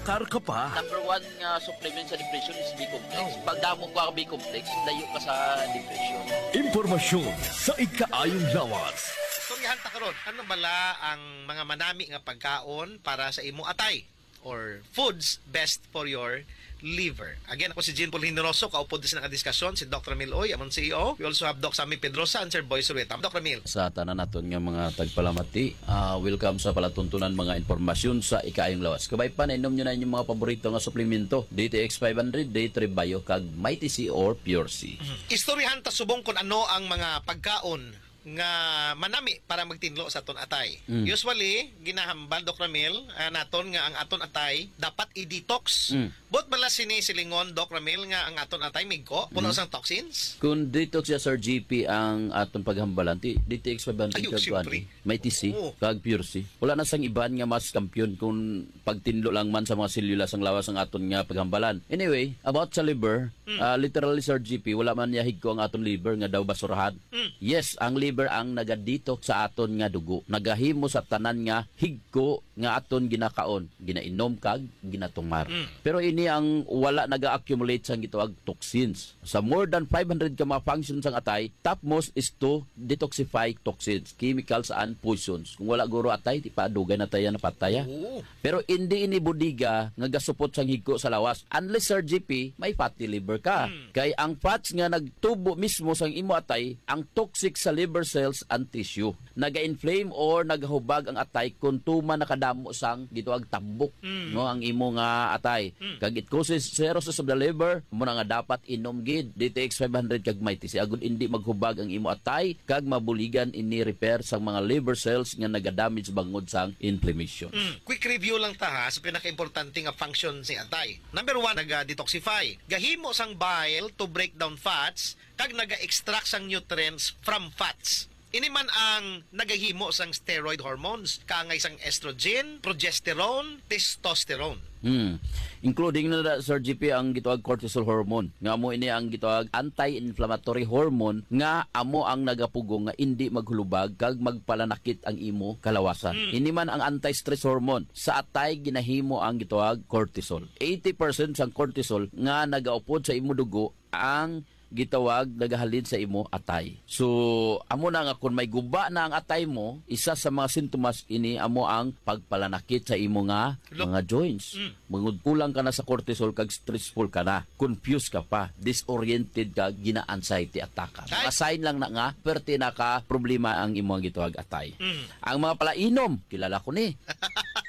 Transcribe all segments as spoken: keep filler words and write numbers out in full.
Kar ka pa? Number one nga supplement sa depression is B-complex. Oh. Pag damo ka B-complex, layo ka sa depression. Impormasyon sa ikaayong lawas. Istoryahan ta karon, ano bala ang mga manami nga pagkaon para sa imo atay? Or foods best for your liver? Again, ako si Jean Paul Generoso, kaupod sa nakadiskasyon, si Doc Ramil Uy, amon C E O. We also have Doc Sammy Pedrosa and Sir Boy Surueta. Doc Ramil. Sa tanan naton nga mga tagpalamati, ah, welcome sa palatuntunan mga impormasyon sa ikaayong lawas. Kabay pa, nainom nyo na inyong mga paborito nga suplemento, D T X five hundred, D three Bio, kag Mighty C or Pure C. Mhm. Istoryahan ta subong kung ano ang mga pagkaon nga manami para magtinlo sa aton atay. Mm. Usually, ginahambal, Doc Ramil, ah, naton nga ang aton atay dapat i-detox. Mm. Buot bala sini silingon, Doc Ramil, nga ang aton atay migko, puno Mm. sang toxins? Kung detox siya, Sir G P, ang aton paghambalan, ti, D T X five hundred Ayun, kag kuan, siyempre. Mighty C, Oo. kag Pure C. Wala na sang iban nga mas kampiyon kung pagtinlo lang man sa mga selula sang lawas ang aton nga paghambalan. Anyway, about sa liver, Mm. ah, literally, Sir G P, wala man niya higko ang aton liver nga daw basurahan. Mm. Yes, ang liver ang nagadito sa aton nga dugo. Nagahimo sa tanan nga higko nga aton ginakaon, ginainom kag ginatumar. Mm. Pero ini ang wala naga-accumulate sang gitawag toxins. Sa more than five hundred ka mga functions sang atay, topmost is to detoxify toxins, chemicals and poisons. Kung wala guro atay, di pa dugay na tayo napataya. Oo. Pero hindi ini bodega nga gasupot sang higko sa lawas. Unless, Sir G P, may fatty liver ka. Mm. Kay ang fats nga nagtubo mismo sang imo atay, ang toxic sa liver cells and tissue. Naga-inflame or nagahubag ang atay kung tuman nakadamo sang gitawag tambok, Mm. no, ang imo nga atay. Mm. Kag it causes cirrhosis of the liver, mo na nga dapat inom gid D T X five hundred kag Mighty C agud indi maghubag ang imo atay kag mabuligan ini repair sang mga liver cells nga nagadamage bangod sang inflammation. Mm. Quick review lang ta ha, sa pinakaimportante nga function sa atay. Number one, naga-detoxify. Gahimo sang bile to break down fats kag naga-extract sang nutrients from fats. Ini man ang nagahimo sang steroid hormones, kaangay sang estrogen, progesterone, testosterone. Hmm. Including na da, Sir G P, ang gitawag cortisol hormone, nga mo ini ang gitawag anti-inflammatory hormone nga amo ang nagapugong nga indi maghulubag kag magpalanakit ang imo kalawasan. Hmm. Ini man ang anti-stress hormone. Sa atay ginahimo ang gitawag cortisol. Eighty percent sang cortisol nga nagaupod sa imo dugo ang gitawag nagahalin sa imo atay. So, amo na nga kung may guba na ang atay mo, isa sa mga sintomas ini amo ang pagpalanakit sa imo nga Look. mga joints. Mm. Mangud kulang ka na sa cortisol kag stressful ka na, confused ka pa, disoriented ka, gina-anxiety attack ka. Ay! Mga sign lang na nga, perti na ka problema ang imo nga gitawag atay. Mm. Ang mga palainom, kilala ko ni.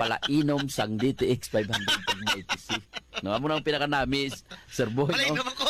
Palainom sang D T X five hundred kag Mighty C. No, amo na ang pinakanamis, Sir Boy, no? Palainom ako.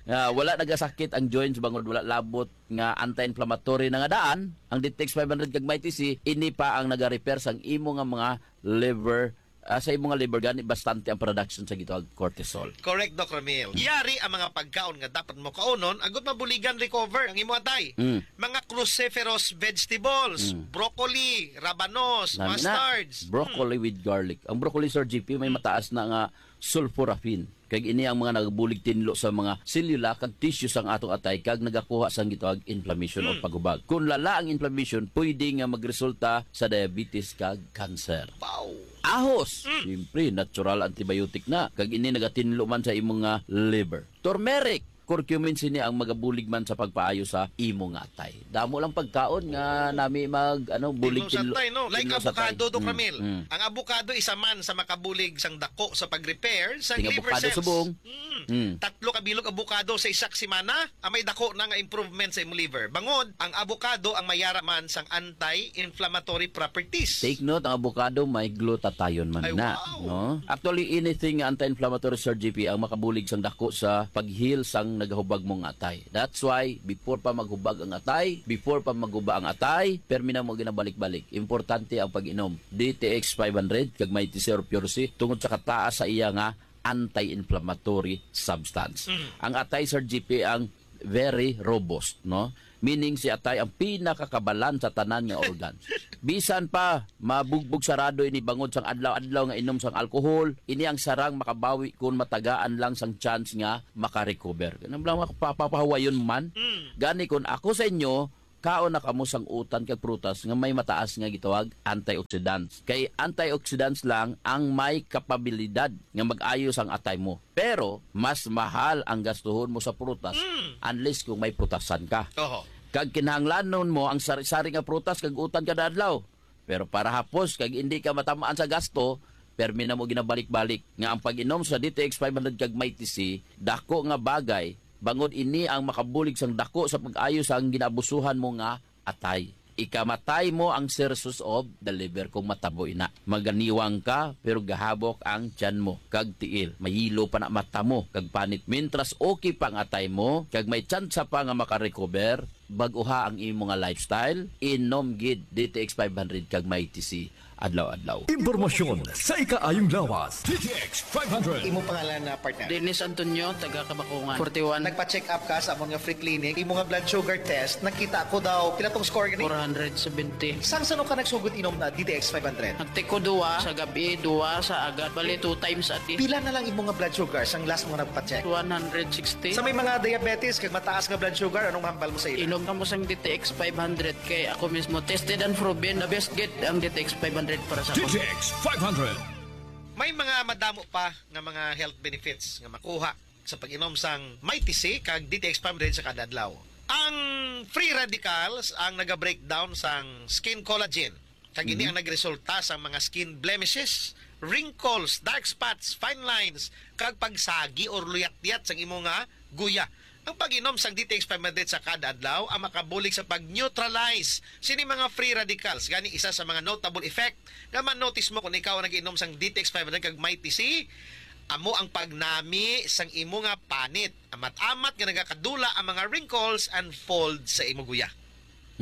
Ah, wala nagasakit ang joints bangod wala labot nga anti-inflammatory na nga daan. Ang D T X five hundred kag Mighty C, ini pa ang nagarepair sang imo nga mga liver, ah, sa imo nga liver, gani bastante ang production sa gitawag cortisol. Correct, Doc Ramil. Yari ang mga pagkaon nga dapat mo kaunon, agud mabuligan recover ang imo atay. Mm. Mga cruciferous vegetables, Mm. broccoli, rabanos, Nami na, mustards. broccoli Mm. with garlic. Ang broccoli, Sir G P, may Mm. mataas na nga sulforaphane. Kag ini ang mga nagabulig tinlo sa mga selula kag tissue sang atong atay kag nagakuha sang gitawag inflammation o Mm. paghubag. Kung lala ang inflammation, pwede nga magresulta sa diabetes kag cancer. Wow! Ahos, Mm. siyempre, natural antibiotic na. Kag ini nagatinlo man sa imo nga liver. Turmeric, curcumin, sini ang magabulig man sa pagpaayo sa imo nga atay. Damo lang pagkaon nga Oo. nami mag, ano, bulig Tinlo sa tinlo, atay, no? Like tinlo sa atay. avocado, Doc Mm, Ramil. mm. Ang avocado isa man sa makabulig sang dako sa pag-repair sa Ting liver avocado cells. subong. Mm. Mm. Tatlo ka bilog avocado sa isa ka semana, ah, may dako na nga improvement sa imong liver. Bangod, ang avocado ang mayara man sang anti-inflammatory properties. Take note, ang avocado may glutathione man Ay, na, wow. no? Actually, anything nga anti-inflammatory, Sir G P, ang makabulig sang dako sa pag-heal sang nagahubag mo nga atay. That's why, before pa maghubag ang atay, before pa maghuba ang atay, permi na mo ginabalik-balik. Importante ang pag-inom. D T X five hundred, kag may T C or Pure C, tungod sa kataas sa iya nga anti-inflammatory substance. Mm. Ang atay, Sir G P, ang very robust, no? Meaning si atay ang pinakakabalan sa tanan nga organ. Bisan pa, mabugbog sarado ini bangod sang adlaw-adlaw nga inom sang alcohol, ini ang sarang makabawi kung matagaan lang sang chance nga makarecover. Kanang lang makapapahawayon man. Mm. Gani kung ako sa inyo, magkaon na kamo sang utan kag prutas nga may mataas nga gitawag antioxidants. Kay antioxidants lang ang may kapabilidad nga mag-ayo sang atay mo. Pero mas mahal ang gastuhon mo sa prutas unless kung may prutasan ka. Oho. Kag kinahanglanon mo ang sari-sari nga prutas kag utan kada adlaw. Pero para hapos kag hindi ka matamaan sa gasto, permi na mo ginabalik-balik nga ang pag-inom sa D T X five hundred kag Mighty C dako nga bagay, bangod ini ang makabulig sang dako sa pag-ayo sang ginabusuhan mo nga atay. Ikamatay mo ang cirrhosis of the liver kung matabo ina. Maganiwang ka, pero gahabok ang tiyan mo, kag tiil. Mayilo pa na mata mo, kag panit. Mintras okay pa ang atay mo, kag may tsansa pa nga makarecover, bag-uha ang imo nga lifestyle, inom gid D T X five hundred kag Mighty C adlaw-adlaw. Impormasyon sa ikaayong lawas. D T X five hundred. Imo pangalan na partner? Dennis Antonio, taga Kabakungan. Forty-one. Nagpa-check up ka sa amon nga free clinic. Imo nga blood sugar test, nakita ko daw, pila tong score gani? Four hundred seventy. Sang sano ka nagsugod inom na D T X five hundred? Nagtiko duwa sa gabi, duwa sa agad. Bali, two times a day. Pila na lang imo nga blood sugar sang last mo nagpa-check? One hundred sixty. Sa may mga diabetes kag mataas nga blood sugar, anong mahambal mo sa ila? Inom kamo sang D T X five hundred kay ako mismo tested and proven, the best gid ang D T X five hundred para sa ako. D T X five hundred. May mga madamo pa nga mga health benefits nga makuha sa pag-inom sang Mighty C kag D T X five hundred sa kada adlaw. Ang free radicals ang naga-breakdown sang skin collagen, kag ini Mhm. ang nagresulta sa mga skin blemishes, wrinkles, dark spots, fine lines, kag pagsagi or luyat-liyat sang imo nga guya. Ang pag-inom sang D T X five hundred sa kada adlaw ang makabulig sa pag-neutralize sini mga free radicals. Gani, isa sa mga notable effect nga ma-notice mo kung ikaw ang nag-inom sang D T X five hundred kag Mighty C, amo ang pagnami sang imo nga panit. Amat-amat nga nagakadula ang mga wrinkles and folds sa imo guya.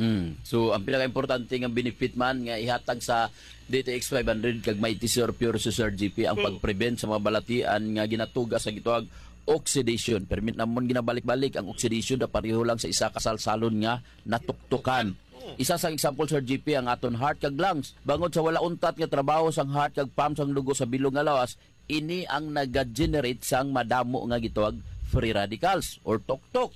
Hmm. So, ang pinaka-importante nga benefit man nga ihatag sa D T X five hundred kag Mighty C or Pure C, Sir G P, ang Oo. pag-prevent sa mga balatian nga ginatuga sa gitawag oxidation. Permi namon ginabalik-balik ang oxidation na pareho lang sa isa ka salsalon nga natuktukan. Oo. Isa sang example, Sir G P, ang aton heart kag lungs. Bangod sa wala untat nga trabaho sang heart kag pump sang dugo sa bilog nga lawas, ini ang nag-generate sang madamo nga gitawag free radicals or tuktok.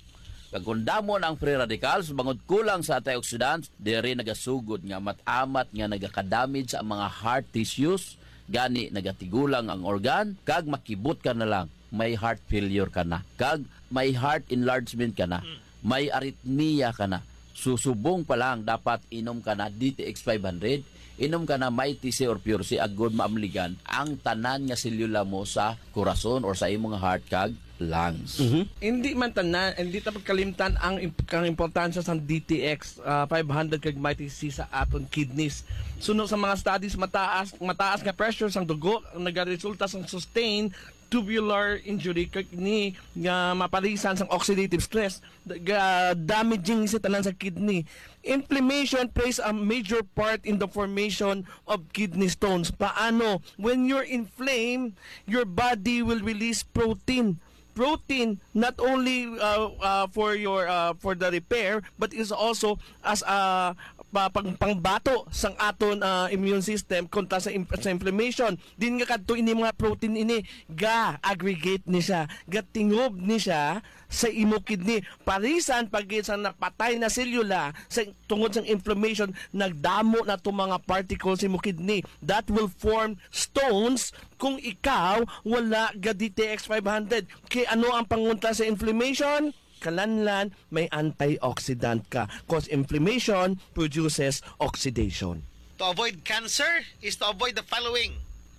Kag kung damo na ang free radicals, bangod kulang sa antioxidants, diri nagasugod nga amat-amat nga nagakadamage sa mga heart tissues, gani nagatigulang ang organ, kag makibot ka na lang, may heart failure ka na, kag may heart enlargement ka na, may arrhythmia ka na. So, subong pa lang, dapat inom ka na D T X five hundred, inom ka na Mighty C or Pure C, agod maamligan ang tanan nga selula mo sa korason or sa imong heart kag lungs. Mhm. Hindi man tanan, hindi ta pagkalimtan ang imp-, ang importansya sang D T X, ah, five hundred kag Mighty C sa aton kidneys. Suno sa mga studies, mataas, mataas nga pressure sang dugo ang nagaresulta sang sustained tubular injury kag ni nga maparisan sang oxidative stress. Ga-, damaging sa tanan sa kidney. Inflammation plays a major part in the formation of kidney stones. Paano? When you're inflamed, your body will release protein. Protein not only, uh, uh, for your, uh, for the repair, but is also as a pa-, pang-, pangbato sang aton, uh, immune system kontra sa im-, sa inflammation. Din nga kadto ini mga protein ini, ga-aggregate ni siya, gatingob ni siya sa imo kidney. Parisan pa gid sang napatay na selula sa tungod sang inflammation, nagdamo na to mga particles sa imo kidney that will form stones kung ikaw wala ga D T X five hundred. Kay ano ang pangontra sa inflammation? Kalanlan, may antioxidant ka. Cause inflammation produces oxidation. To avoid cancer is to avoid the following.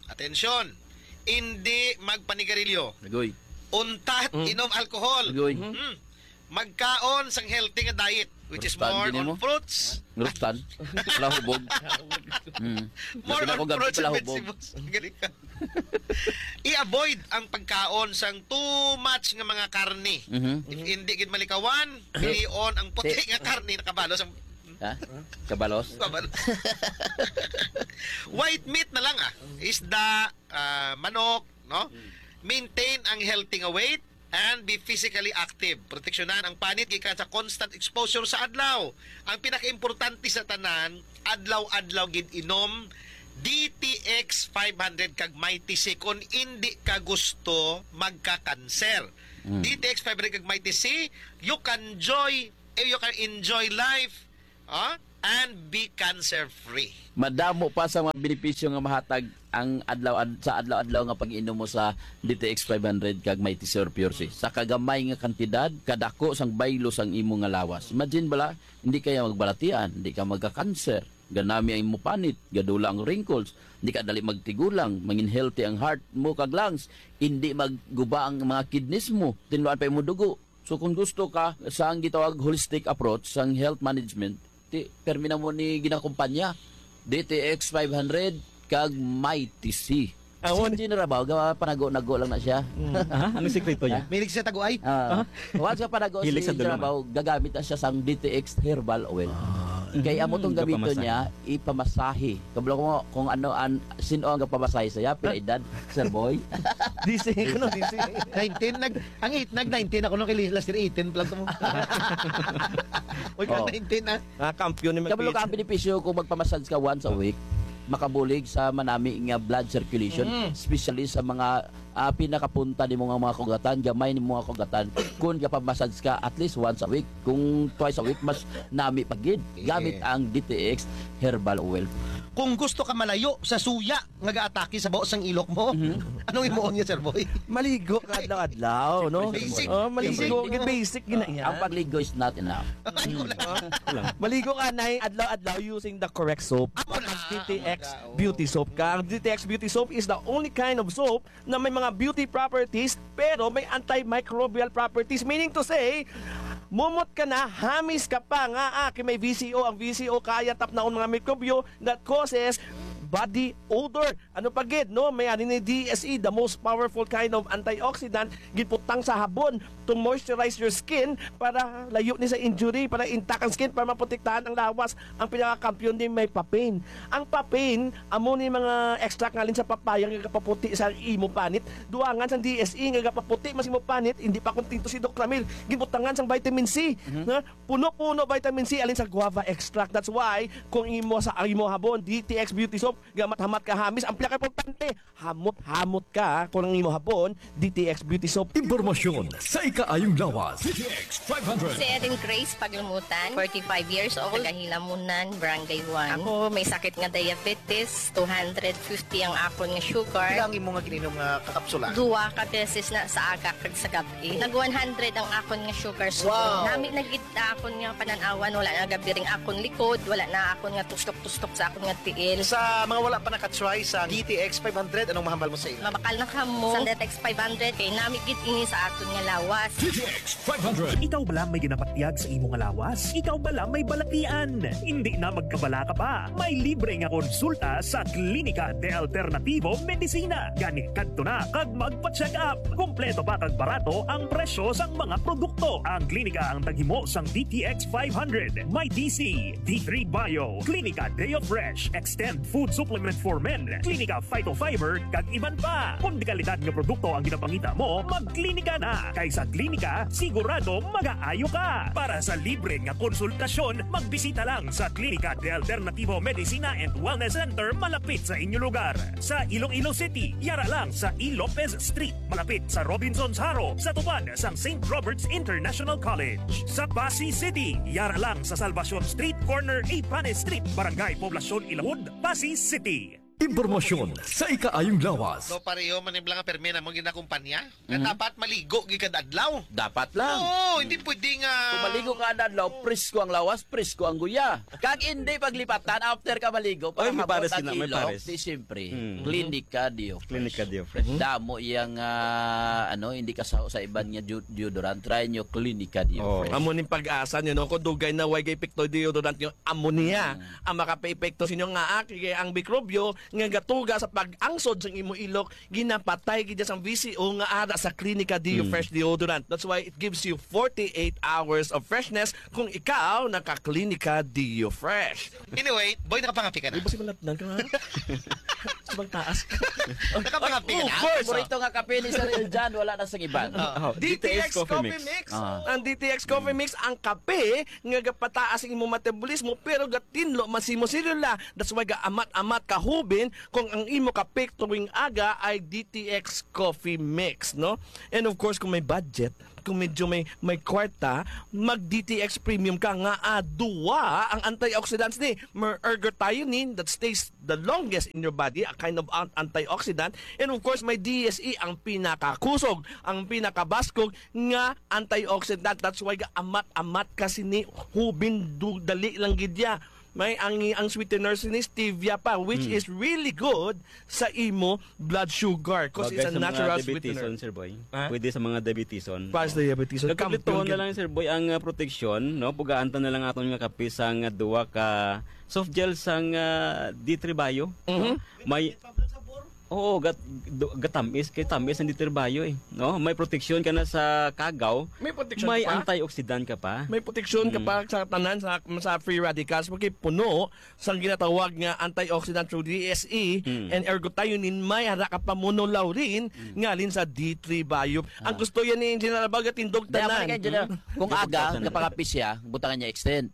Atensyon, hindi magpanigarilyo. Agoy. Untat, Mm. inom alcohol. Agoy. Mm. Magkaon sang healthy nga diet, which is Fruktan more din on mo? fruits. Fruktan. Palahubog. Mm. More Labi na on ko gabi fruits and palahubog. vegetables. Galing ka. I-avoid ang pagkaon sang too much nga mga karne. Mhm. If hindi gid malikawan, Di- pilion ang puti di- nga karne, nakabalos ang Ha? Kabalos? Kabalos. White meat na lang, ah. Isda, ah, manok, no? Maintain ang healthy nga weight and be physically active. Proteksyonan ang panit gikan sa constant exposure sa adlaw. Ang pinakaimportante sa tanan, adlaw-adlaw gid inom D T X five hundred kag Mighty C kung indi ka gusto magka-cancer. Mm. D T X five hundred kag Mighty C, you can enjoy, eh, you can enjoy life Ha? And be cancer-free. Madamo pa sa mga benepisyo nga mahatag ang adlaw ad-, sa adlaw-adlaw nga pag-inom mo sa D T X five hundred kag Mighty Sur Pure C. Sa kagamay nga kantidad, kadako sang baylo sang imo nga lawas. Imagine bala, hindi kaya magbalatian, hindi ka magka-cancer, ganami ang imo panit, gadula ang wrinkles, hindi ka dali magtigulang, mangin healthy ang heart mo kag lungs, hindi magguba ang mga kidneys mo, tinluan pa imo dugo. So kung gusto ka sang gitawag holistic approach sang health management, ti permi na mo ni ginakumpanya, D T X five hundred kag Mighty C. Ah, Si wala. General Bao, ga-, panago-nago lang na siya. Mm. Ha? Ano sikreto niya? Mahilig siya taguay. Ah, Ah? Once nga panago Hilig si sa General dulong, ah. Bao, gagamit na siya sang D T X herbal oil. Ah. Kay amo tong Mm, gamiton gapamasahe. Niya, ipamasahe. Kabalo ko kung ano an, sino ang gapamasahe saya, pila edad, Sir Boy? D C, ano, D C? Nineteen, nag, ang eight, nag nineteen ako nung kay last year, eighteen pa lang to mo. Uy, ka Oh. nineteen, ah. Ah, kampiyon ni Kabalo ka, ang Magpitch. Benepisyo kung magpamassage ka once a week, makabulig sa manami nga blood circulation, Mm. especially sa mga, ah, pinakapunta nimo nga mga kugatan, gamay nimo nga kugatan. Kung gapamassage ka at least once a week, kung twice a week, mas nami pa gid. Gamit Yes. ang D T X herbal oil. Kung gusto ka malayo sa suya nga gaatake sa baho sang ilok mo, Mhm. anong imuon niya, Sir Boy? Maligo ka adlaw-adlaw, no? Basic. Oh, maligo. Basic. Basic gina yan. Ang pagligo is not enough. Ay, wala. Ah, wala. Maligo ka na adlaw-adlaw using the correct soap. Amo na. Mag D T X Amo na, oh. Beauty Soap ka. Ang D T X Beauty Soap is the only kind of soap na may mga beauty properties, pero may antimicrobial properties. Meaning to say, mumot ka na, hamis ka pa nga, ah, kay may V C O. Ang V C O kaya tapnaon mga mikrobyo that causes body odor. Ano pa gid, no? May ani ni D S E, the most powerful kind of antioxidant, giputang sa habon to moisturize your skin para layo ni sa injury, para intact ang skin, para maprotektahan ang lawas. Ang pinakakampiyon ni may papain. Ang papain, amo ni mga extract ngalin sa papaya nga gapaputi sa imo panit. Duangan sang D S E nga gapaputi mas imo panit, hindi pa kontento si Doc Ramil. Gibutangan sang vitamin C, Mhm. nga puno-puno vitamin C alin sa guava extract. That's why kung imo sa, ang imo habon, D T X Beauty Soap, gamat-hamat ka hamis, ang pinakaimportante, hamot-hamot ka kung ang imo habon, D T X Beauty Soap. Impormasyon sa ikaayong lawas. D T X five hundred. Si Erin Grace Paglumutan, forty-five years old, taga Hilamunan, Barangay one. Ako may sakit nga diabetes, two hundred fifty ang akon nga sugar. Pila ang imo nga gininom nga kakapsula? Duha ka beses na sa aga kag sa gab-i. Nag one hundred ang akon nga sugar. So, Wow! nami na gid akon nga panan-awan, wala na gabiring akon likod, wala na akon nga tustok-tustok sa akon nga tiil. Sa mga wala pa nakatry sa D T X five hundred, anong mahambal mo sa ila? Mabakal na kamo sa D T X five hundred, kay nami gid ini sa aton nga lawas. D T X five hundred. Ikaw bala may ginapatyag sa imo nga lawas? Ikaw bala may balatian? Hindi na magkabala ka pa. May libre nga konsulta sa Klinika de Alternativo Medicina. Gani kadto na kag magpa-check up. Kompleto pa kag barato ang presyo sang mga produkto. Ang klinika ang taghimo sang D T X five hundred, may D C, D three Bio, Klinika Deo Fresh, Extend Food Supplement for Men, Klinika Phytofiber, kag iban pa. Kung dekalidad nga produkto ang ginapangita mo, magklinika na. Kay sa klinika, sigurado magaayo ka. Para sa libre nga konsultasyon, magbisita lang sa Klinika de Alternativo Medicina and Wellness Center malapit sa inyo lugar. Sa Iloilo City, yara lang sa E. Lopez Street, malapit sa Robinsons Haro, sa tupad sang Saint Robert's International College. Sa Passi City, yara lang sa Salvacion Street, corner Ipanes Street, Barangay Poblacion Ilawod, Passi City. Impormasyon sa ikaayong lawas. No, pareho man yung mga permi na mong ginakumpanya. Nga Mhm. dapat maligo gid kada adlaw. Dapat lang. Oo, hindi pwede nga Kung maligo ka kada adlaw, presko ang lawas, presko ang guya. Kag hindi paglipatan after ka maligo, para Ay, may habot pares ang sila, may ilok, pares. Di siyempre. Mm. Klinika Deo Fresh. Klinika Deo Fresh. Damo iyang, ah, ano, hindi ka sa, sa iban nga deo-, deodorant. Try nyo Klinika Deo Oh, Fresh. Amo ning pag-asa nyo, no? Kung dugay na way epekto deodorant nyo, amo niya Mm. ang makapaepekto sa inyo nga aki, kay ang mikrobyo nga gatuga sa pag-angsod sa imo ilok, ginapatay gid sang V C O nga ara sa Klinika Deo Mm. Fresh Deodorant. That's why it gives you forty-eight hours of freshness kung ikaw naka-Klinika Deo Fresh. Anyway, boy, nakapangapi ka na. Di ba si Malatnan ka nga? Sa bang taas ka? Nakapangapi ka na? Of course. Paborito nga kape ni Sir Eljan, wala na sa iban. Oh. Oh, D T X D T X Coffee Coffee Mix. Mix. Ah. Ang D T X Coffee Mix, ang kape nga gapataas ang imong metabolismo, pero gatinlo man sa imong selula. That's why gaamat-amat ka hubin kung ang imo kape tuwing aga ay D T X Coffee Mix, no? And of course, kung may budget, kung medyo may, may kwarta, mag D T X Premium ka nga, ah, duwa ang antioxidants ni. May ergothioneine that stays the longest in your body, a kind of an-, antioxidant. And of course, may D S E, ang pinakakusog, ang pinakabaskog nga antioxidant. That's why ga amat-amat ka sini, hubin, du-, dali lang gid ya. May ang, ang sweetener sini stevia pa, which Mm. is really good sa imo blood sugar, 'cause Bagay it's a sa mga natural diabetison, sweetener. Sir Boy. Ha? Pwede sa mga diabetison. Para sa diabetison. Nagkumpletuhan na Kampiyon lang, Sir Boy, ang, ah, proteksyon, no? Pugaan ta na lang aton nga kape sang, ah, duwa ka soft gel sang, ah, D three Bio. Mhm. May Oo, gat, do, gatamis kay tamis ang D three Bio, eh, no? May proteksyon ka na sa kagaw, May proteksyon may ka pa? antioxidant ka pa. May proteksyon ka Mm. pa sa tanan sa, sa free radicals, kay puno sang ginatawag nga antioxidant through D S E Mm. and ergothioneine, may ara ka pa monolaurin Mm. nga alin sa D three Bio. Ang Ah. gusto yan ni Engineer Abag, tindog Di, ako tanan. na kay Engineer. Mm. Kung Di, aga, pagkasan. Gapangapis siya, butangan niya extend.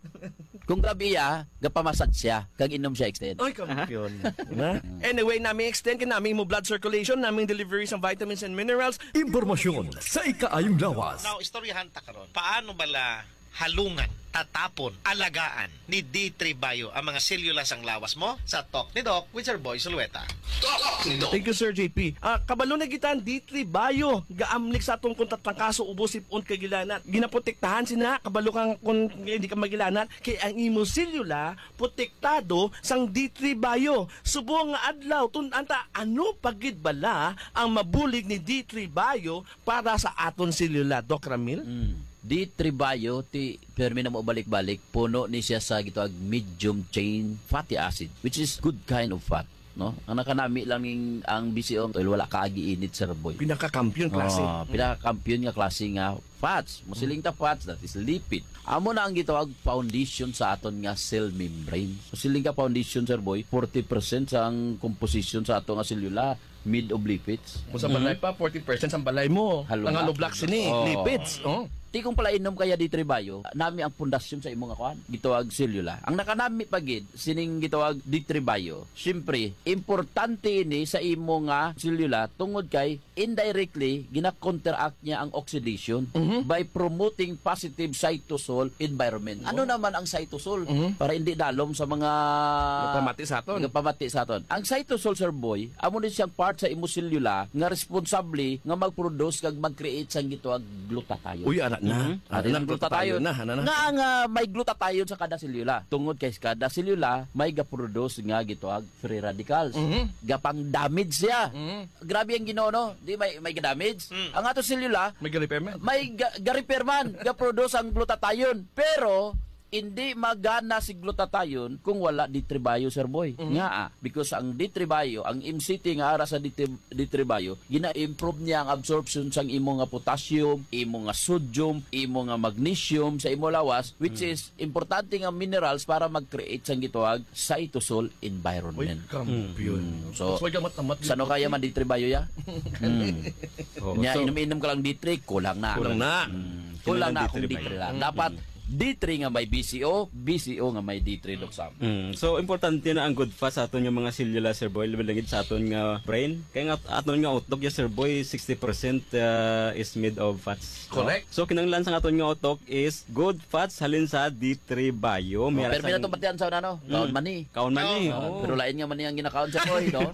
Kung gabi ya, gapamasad siya, kag inom siya extend. Ay, kampiyon. Na? Anyway, nami extend kay nami mo blood circulation, nami delivery sa vitamins and minerals. Impormasyon sa ikaayong lawas. Now, istoryahan ta karon. Paano bala halungan, tatapon, alagaan ni D three Bio ang mga selula sang lawas mo? Sa Talk ni Doc with Sir Boy Sulueta. Talk ni Doc. Thank you, Sir J P. Ah, kabalo na kita ang D three Bio. Gaamlik sa atong kung tatangkaso, ubo, sipon, kag gilanat. Ginaprotektahan sina, kabalo kang kung hindi ka magilanat, kay ang imo selula protektado sang D three Bio. Subong nga adlaw, tun-an ta, ano pa gid bala ang mabulig ni D three Bio para sa aton selula, Doc Ramil? Mm. D three Bio, ti, permi na mo balik-balik, puno ni siya sa gitawag medium chain fatty acid, which is good kind of fat, no? Ang nakanami lang ning, ang B C O, well, wala ka agi init, Sir Boy. Pinakakampiyon klase. Oh, pinakakampiyon nga klase nga fats. Musiling ta fats, that is lipid. Amo na ang gitawag foundation sa aton nga cell membrane. Musiling ka foundation, Sir Boy, forty percent sang composition sa ato nga selula made of lipids. Kung sa balay Mm. pa, forty percent sa balay mo. Hollow Ang hollow block. Block sini, Oh. lipids. Oh. Ti kung pala inom kaya D three Bio, nami ang pundasyon sa imo nga kuan, gitawag selula. Ang nakanami pa gid, sining gitawag D three Bio, siyempre, importante ini sa imo nga selula tungod kay indirectly, gina-counteract niya ang oxidation Mhm. by promoting positive cytosol environment. Ano Oh. naman ang cytosol? Mhm. Para hindi dalom sa mga Nagpamati sa aton. nagpamati sa aton. Ang cytosol, Sir Boy, amo ni siyang part sa imo selula nga responsable nga mag-produce kag mag-create sang gitawag glutathione. Uy, ana na. Mhm. Ana Ano na, ang glutathione glutathione? na, ana na. Nga ang, ah, may glutathione sa kada selula. Tungod kay kada selula, may ga-produce nga gitawag free radicals. Mhm. Gapang damage siya. Mhm. Grabe ang Ginoo, no? Di may, may damage. Mm. Ang ato selula, May ga-repair man. may ga-, ga-repair man, ga-produce ang glutathione. Pero, hindi magana si glutathione kung wala D three Bio, Sir Boy. Mhm. Nga, ah, because ang D three Bio, ang M C T nga ara sa D three, D three Bio, gina-improve niya ang absorption sang imo nga potassium, imo nga sodium, imo nga magnesium sa imo lawas, which Mm. is importante nga minerals para mag-create sang gitawag cytosol Uy, environment. Kampiyon. Mm. So, That's why gamat-amat sa ano dito. kaya man D three Bio ya? Mm. Oo, Nya, so, inom-inom ka lang D three, kulang na. Kulang na. Mm. Kulang na Kailangan kung D three D three Bio. lang. Mm. Dapat D three nga may B C O, B C O nga may D three, Doc Sam. Mm. So, importante na ang good fats sa aton nga mga selula, Sir Boy, labi lang gid sa aton nga brain. Kaya nga, aton nga utok, ya, Sir Boy, sixty percent, uh, is made of fats, no? Correct. So, kinahanglan sa aton nga utok is good fats halin sa D three Bio. Oh, May permi na rasa to batian sa una, no? Mm. Kaon mani. Kaon mani, Oo. oo. Pero lain nga mani ang ginakaon sa Boy, no?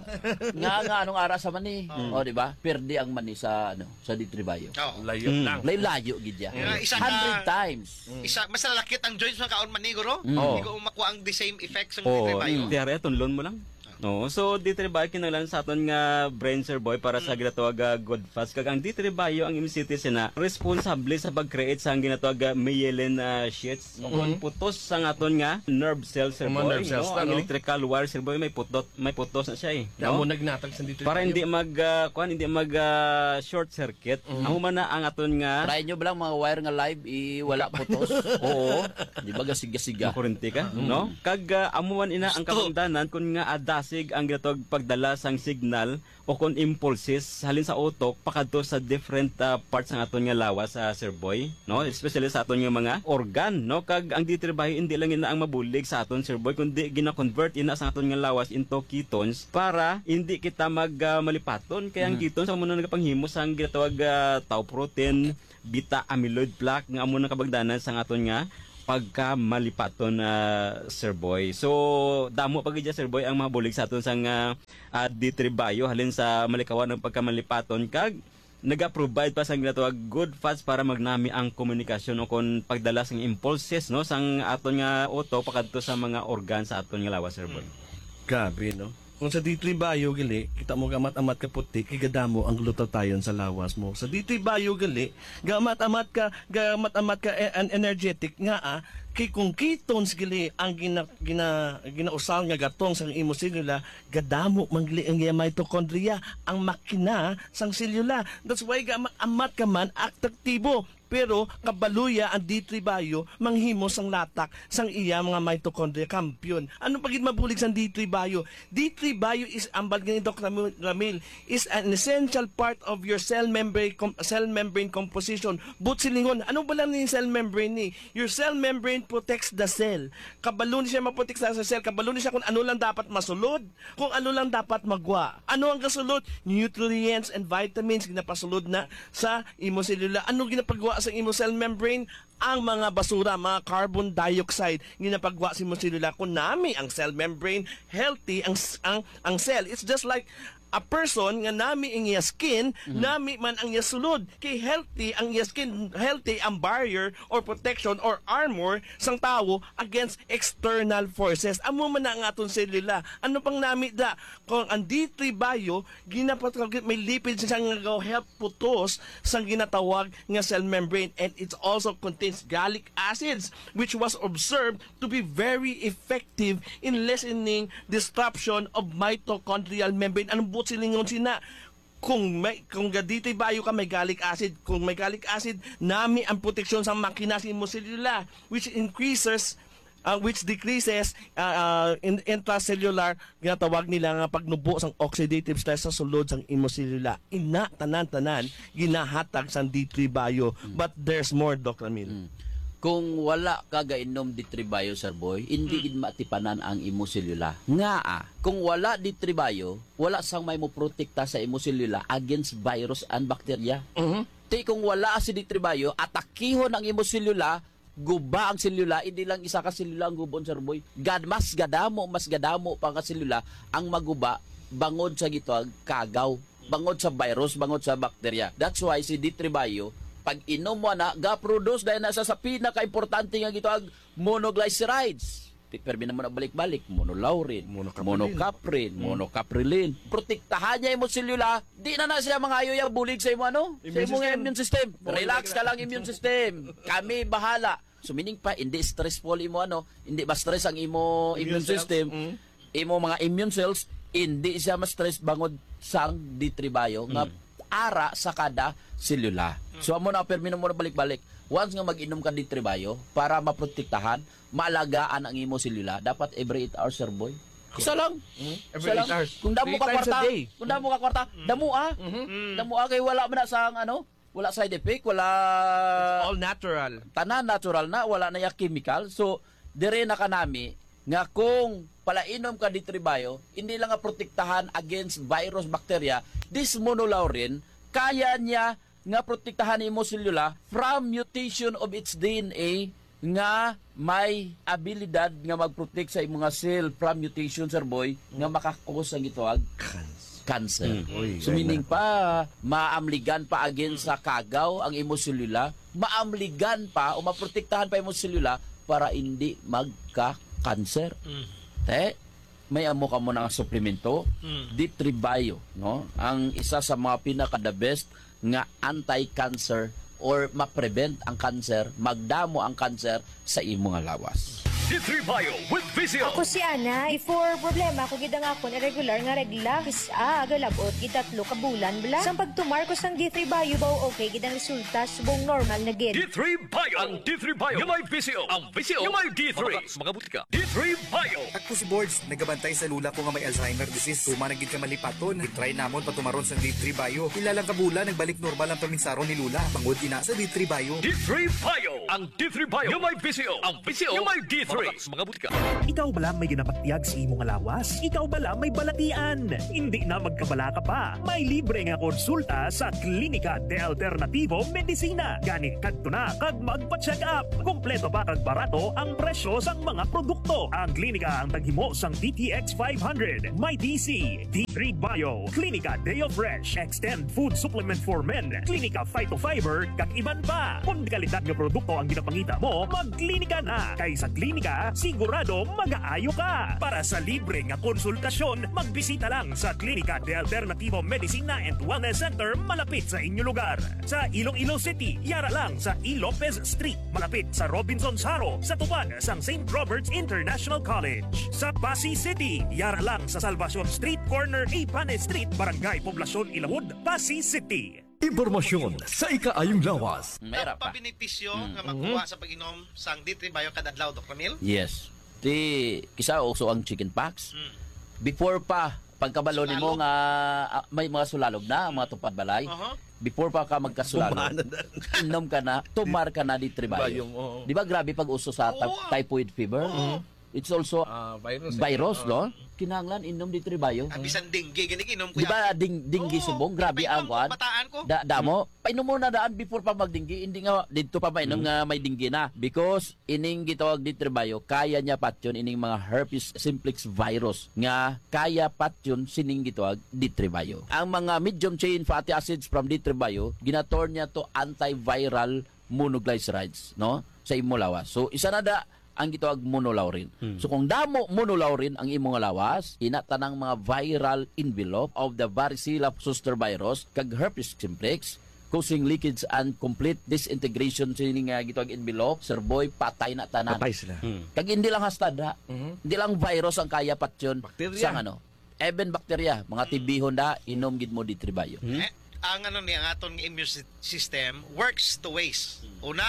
Nga, nga, anong ara sa mani? Oo. Oh, di ba? Perdi ang mani sa, ano, sa D three Bio. Oo. Layo Mm. lang. Layo-layo gid ya. Nga, isa ka Hundred times. Mm. Isa, mas nalakit ang joints makaon mani, guro. Mm. Oo. Hindi ko makuha ang the same effect sa Oh, D three Bio. mm. Tiare, tunlon mo lang. Oo. So, D three Bio kinahanglan sa aton nga brain, Sir Boy, para sa Mm. ginatawag nga good fats. Kag ang D three Bio, ang M C T sina, responsable sa pag-create sa ang ginatawag nga myelin, ah, sheaths. O Mm. kung putos sa aton nga nerve cells, Sir Mga Boy, nerve cells no? na, Ang no? electrical wire, Sir Boy, may putot, may putos na siya eh, Kaya no? mo nagnatag sa D three Para Bio. hindi mag, ah, kuwan, hindi mag, ah, short circuit. Mm. Amo man na ang aton nga Try nyo ba lang mga wire nga live, i-, wala putos? Oo. Di ba gasig-gasiga? Makurinti ka, Mm. no? Kag, ah, amo man ina ang Gusto. kabangdanan kun nga adas sig ang ginatawag pagdala sang signal o kon impulses halin sa utok pakadto sa different, ah, parts sang aton nga lawas, ah, Sir Boy, no? Especially sa aton nga mga organ, no? Kag ang D three bio hindi lang ina ang mabulig sa aton, Sir Boy, kundi gina-convert ina sa aton nga lawas into ketones para hindi kita mag, ah, malipaton. Kay ang Mhm. ketones amo na nagapanghimo sang ginatawag, ah, tau protein, beta amyloid plaque nga amo nang kabangdanan sang aton nga pagkamalipaton, ah, Sir Boy. So, damo pa gid, Sir Boy, ang mabulig sa aton sang, ah, ah, D three bio halin sa malikawan ang pagkamalipaton kag naga-provide pa sang ginatawag good fats para magnami ang komunikasyon o kon pagdala sang impulses, no, sang aton nga utok pakadto sa mga organ sa aton nga lawas, Sir Boy. Grabe, no? Kung sa D three bio gali, kita mo gamat-amat ka puti, kay gadamo ang glutathione sa lawas mo. Sa D three bio gali, gamat-amat ka, gamat-amat ka e-, an-, energetic nga, ah, kay kung ketones gali ang gina-, gina-, ginausaw nga gatong sang imo selula, gadamo man gali ang iya mitochondria, ang makina sang selula. That's why gamat-amat ka man atraktibo. Pero kabalo ya ang D three bio manghimo sang latak sang iya mga mitochondria, kampiyon. Ano pa gid mabulig sang D three bio? D three bio is, ambal gani, Doc Ramil, Ramil, is an essential part of your cell membrane com-, cell membrane composition. But silingon, ano ba lang ni cell membrane ni? Your cell membrane protects the cell. Kabalo ni siya maprotekta sa cell. Kabalo ni siya kung ano lang dapat masulod, kung ano lang dapat magwa. Ano ang gasulod? Nutrients and vitamins ginapasulod na sa imo selula. Ano ginapagwa sa imo cell membrane? Ang mga basura, mga carbon dioxide, ginapagwa sa imo selula. Kung nami ang cell membrane, healthy ang s-, ang, ang cell. It's just like a person nga nami ang iya skin, Mhm. nami man ang iya sulod. Kay healthy ang iya skin, healthy ang barrier or protection or armor sang tawo against external forces. Amo man na ang aton selula. Ano pang nami da? Kung ang D three bio, ginapatawag, may lipid siya nga help putos sang ginatawag nga cell membrane, and it also contains gallic acids, which was observed to be very effective in lessening disruption of mitochondrial membrane. Anong buot silingon sina? Kung may, kung ga-D three bio ka, may gallic acid. Kung may gallic acid, nami ang proteksyon sa makina sa imo selula, which increases, uh, which decreases, uh, uh, in, intracellular, ginatawag nila nga pagnubo sang oxidative stress sa sulod sang imo selula. Ina, tanan-tanan, ginahatag sang D three bio. Mm. But there's more, Doc Ramil. Mm. Kung wala ka gainom D three bio, Sir Boy, hindi Mm. gid matipanan ang imo selula. Nga, ah, kung wala D three bio, wala sang may moprotekta sa imo selula against virus and bacteria. Mhm. Ti kung wala si D three bio, atakihon ang imo selula, guba ang selula, hindi lang isa ka selula ang gubon, Sir Boy. Gad-, mas gadamo, mas gadamo pa nga selula ang maguba bangod sa gitawag kagaw, bangod sa virus, bangod sa bacteria. That's why si D three bio, pag inom mo na, ga-produce dahil na sa, sa pinaka-importante nga gitawag monoglycerides. Ti-, permi na mo na balik-balik, monolaurin, Monocaprilin. monocaprin, Mm. monocaprilin. Protektahan niya imo selula, di na na siya mangayo ya bulig sa imo, ano? Sa Immune imo system. immune system. Monoglycerides. Relax ka lang, immune system. Kami bahala. So, meaning pa, hindi stressful imo, ano, hindi ma-stress ang imo Immune immune cells. system. Mm. Imo mga immune cells, hindi siya ma-stress bangod sang D three bio nga Mm. ara sa kada selula. Mm. So, amo na, permi na mo na balik-balik. Once nga mag-inom ka D three bio, para maprotektahan, maalagaan ang imo selula, dapat every eight hours, Sir Boy. Isa lang. Mm. Every Isa lang. eight hours. Kung damo Three ka times a kwarta, day. kung damo ka kwarta, Mm. damo, ah. Mhm. Mm. Damo, ah, kay wala man na sa ang ano, wala side effect, wala It's all natural. Tanan natural na, wala na ya chemical. So, dire na kanami nga kung palainom ka D three bio, hindi lang nga protektahan against virus, bacteria, this monolaurin, kaya niya nga protektahan imo selula from mutation of its D N A nga may abilidad nga mag-protect sa imo nga cell from mutation, Sir Boy, nga Mm. makakos ang gitawag Cancer. cancer. Mm. Uy, So, ay meaning na. pa, maamligan pa again sa kagaw ang imo selula, maamligan pa o maprotektahan pa imo selula para hindi magka-cancer. Mm. Te, may amo ka mo na nga suplemento, Mm. D three bio, no? Ang isa sa mga pinaka the best nga anti-cancer or ma-prevent ang cancer, magdamo ang cancer sa imo nga lawas. D three Bio with Visio. Ako si Ana. Before, problema ko gid ang akon irregular nga regla. Kis-a, galabot gid tatlo ka bulan bala. Sang pagtumar ko sang D three Bio, baw okay gid ang resulta, subong normal na gid. D three Bio. Ang D three Bio nga may Visio. Ang Visio nga may D three. Mga, mga butika. D three Bio. Ako si Borge, nagabantay sa lula ko nga may Alzheimer disease. Tuman na gid ka malipaton. I-try namon patumaron sang D three Bio. Pila lang ka bulan, nagbalik normal ang paminsaron ni Lula. Bangod ina sa D three Bio. D three Bio. Ang D three Bio nga may Visio. Ang Visio nga may D three. Mga, mga butika. Ikaw bala may ginabatyag sa imo nga lawas? Ikaw bala may balatian? Hindi na magkabalaka pa. May libre nga konsulta sa Klinika de Alternativo Medicina. Gani kadto na kag magpa-check up. Kompleto pa kag barato ang presyo sang mga produkto. Ang klinika ang taghimo sang D T X five hundred, may D C, D three Bio, Klinika Deo Fresh, Extend Food Supplement for Men, Klinika Phytofiber, kag iban pa. Kung kalidad nga produkto ang ginapangita mo, magklinika na. Kay sa klinika, sigurado magaayo ka. Para sa libre nga konsultasyon, magbisita lang sa Klinika de Alternativo Medicina and Wellness Center malapit sa inyo lugar. Sa Iloilo City, yara lang sa E. Lopez Street, malapit sa Robinsons Haro, sa tupad sang Saint Robert's International College. Sa Passi City, yara lang sa Salvacion Street, corner Ipanes Street, Barangay Poblacion Ilawod, Passi City. Impormasyon sa ikaayong lawas. May ra pa. Pabenepisyo Mm. nga makuha sa pag-inom sang D three Bio kada adlaw, Doc Ramil? Yes. Ti, kisa uso ang chicken pox. Mm. Before pa, pagkabalo nimo Sulalog. nga, ah, may mga sulalog na, ang mga tupad balay. Aha. Before pa ka magkasulalog, Bumanan na. inom ka na, tumar ka na D three Bio. Bio, oo. Di ba grabe pag uso sa ta-, Oo. typhoid fever? Oo. It's also Ah, virus, eh. virus, Oo. no? Kinahanglan inom D three Bio. Ah, bisan dengue, gani, inom ko Di ba yan. ding-, dengue Oo, subong? Grabe painom ang ko, kuwan. bataan ko. Da-, damo. Painom mo na daan before pa magdinggi. Hindi nga dito pa mainom Mm. nga may dinggi na. Because ining gitawag D three Bio, kaya niya patyon ining mga herpes simplex virus nga kaya patyon sining gitawag D three Bio. Ang mga medium chain fatty acids from D three Bio, ginaturn niya to antiviral monoglycerides, no? Sa imo lawas. So, isa na da ang gitawag monolaurin. Hmm. So, kung damo monolaurin ang imo nga lawas, ina tanang mga viral envelope of the varicella zoster virus kag herpes simplex, causing leakage and complete disintegration sini nga gitawag envelope, Sir Boy, patay na tanan. Patay sila. Hmm. Kag hindi lang hasta da, Mhm. hindi lang virus ang kaya patyon Bacteria. sa ano, even bacteria, mga Hmm. tibihon da, inom gid mo D three Bio. Hmm? Eh, ang ano ni, ang aton nga immune sy-, system works two ways. Hmm. Una,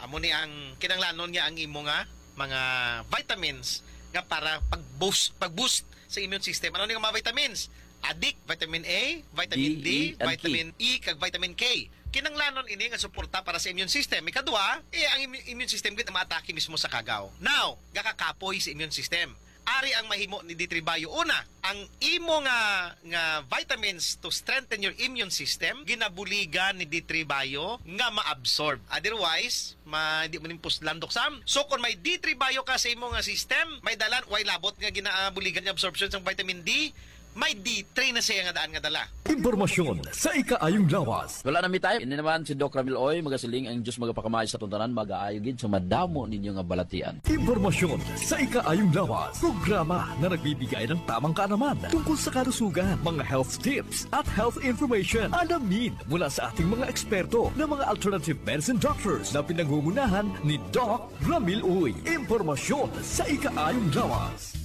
amo ni ang kinanglanon niya ang imo nga mga vitamins nga para pag-boost, pag-boost sa immune system. Ano ni nga mga vitamins? Adik, vitamin A, vitamin D, D, E, and K. vitamin E, kag vitamin K. Kinanglanon ini nga suporta para sa immune system. Ikadua, eh, ang immu-, immune system gid ang maatake mismo sa kagaw. Now, gakakapoy sa immune system. Ari ang mahimo ni D three Bio. Una, ang imo nga, nga vitamins to strengthen your immune system, ginabuligan ni D three Bio nga ma-absorb. Otherwise, ma-, di mo ning puslan, Doc Sam. So, kung may D three Bio ka sa imo nga system, may dalan, way labot nga ginabuligan yung absorption sang vitamin D, may D three na siya nga daan nga dala. Impormasyon sa ikaayong lawas. Wala na mi time. Ini naman si Doc Ramil Oy, magasiling ang Diyos magapakamay sa atong tanan, magaayo gid sa madamo ninyo nga balatian. Impormasyon sa ikaayong lawas. Programa na nagbibigay ng tamang kaalaman tungkol sa kalusugan, mga health tips at health information. Alamin mula sa ating mga eksperto na mga alternative medicine doctors na pinangungunahan ni Doc Ramil Uy. Impormasyon sa ikaayong lawas.